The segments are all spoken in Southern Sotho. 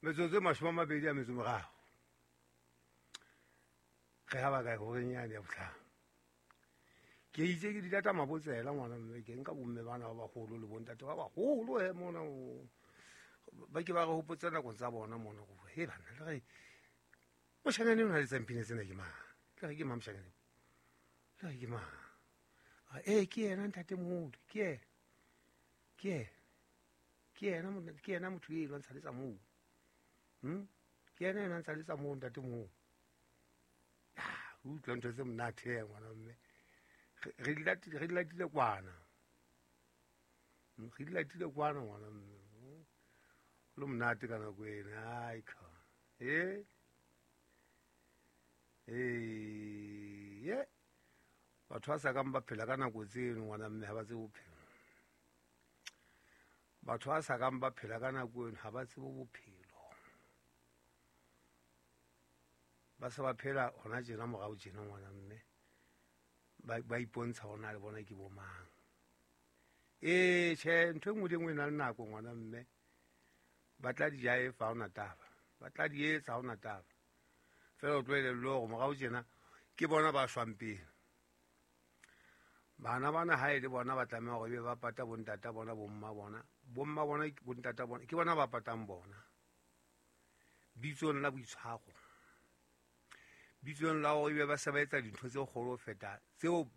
Metsotso e 23. Re ha ba kae horeng yane ya bohlano. Ke itse ke dilata mabotsela ngwana mme ke nka bomme bana ba baholo le bontate ba baholo he mona ba ke ba re hopotsa nakong tsa bona mona go he bana le re moshanyane o na le tsampine tsena ke mang le re ke mang moshanyane le re ke mang ee ke yena ntatemoholo ke yena ke yena ke yena ke yena motho e lwantsha le tsa moo ke yena e lwantsha le tsa moo ntatemoholo. Utlwa ntho tse monate ya ngwana mme re di latile kwana, re di latile kwana ngwana mme le monate ka nako ena. Ai ka ye batho ba sa kang ba phela ka nako tseno ngwana mme ha ba tsebe bophelo. Batho ba sa kang ba phela ka nako eno ha ba tsebe bophelo. Ba se ba phela hona tjena morao tjena ngwana mme ba ipontsha hona le bona ke bo mang. Ee tjhe, ntho e nngwe le nngwe e na le nako ngwana mme. Ba tla di jaefa ha hona taba, ba tla di etsa ha hona taba. Feela o tlo elellwe hore morao tjena ke bona ba shwang pele. Bana bana ha e le bona ba tlameha hore ebe ba pata bontata bona, bomma bona, bomma bona, bontata bona, ke bona ba patang bona. Bitsong la boitshwaro, bitsong la hore ebe ba se ba etsa dintho tse kgolo ho feta tseo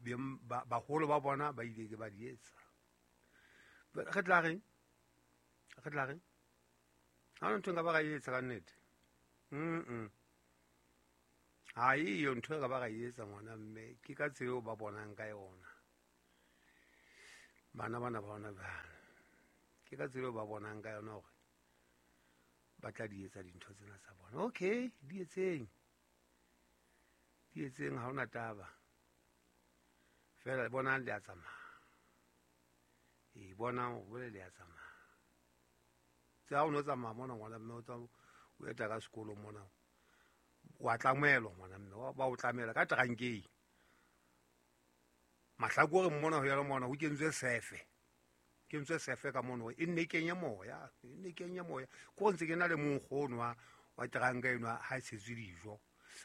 baholo ba bona ba ile ke ba di etsa. Re tla reng? Re tla reng? Ha hona ntho e nka ba ra e etsa ka nnete. Ha eyo ntho e ka ba ra e etsa ngwana mme, ke ka tsela eo ba bonang ka yona. Bana bana ba hona jwale. Ke ka tsela eo ba bonang ka yona hore ba tla di etsa dintho tsena tsa bona. Okay, di etseng. Di etseng ha hona taba. Feela bonang le a tsamaya. Ee, bonang hore le a tsamaya. Tse ha o no tsamaya mona ngwana mme o tswa o eta ka sekolo mona. Wa tlamelwa ngwana mme, ba o tlamela ka trankeng. Mahlakoreng mona ho ya le mona ho kentswe sefe. Kentswe sefe ka mono e nne kenye moya, e nne kenye moya. Ko ntse ke na le monkgono wa tranka eno ha e tshetswe dijo.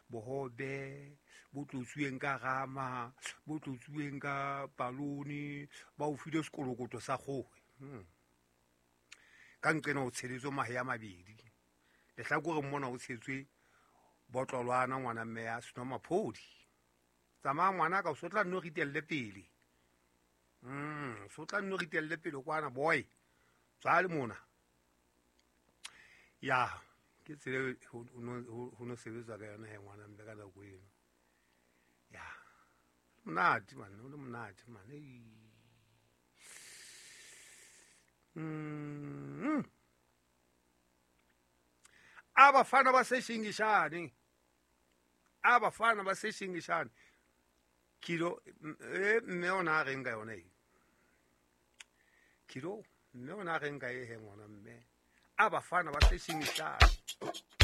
Bohobe bo tlotsuweng ka rama, bo tlotsuweng ka palone, ba o file sekolokoto sa kgoho. Ka nqena o tsheletswe mahe a mabedi. Lehlakoreng mona o tshetswe botlolwana ngwana mme ya senomaphodi. Tsamaya ngwana ka o so tla nno ritelle pele. So tla nno ritelle pele kwana boy. Tswa le mona. Ya, ke tsela ho no sebetswa ka yona he ngwana mme ka nako eno. Ya. Monate man, o le monate man. Abafana baseshingishane. Abafana baseshingishane. Kilo mme ona a reng ka yona e. Kilo mme ona a reng ka e he ngwana mme. Abafana baseshingishane.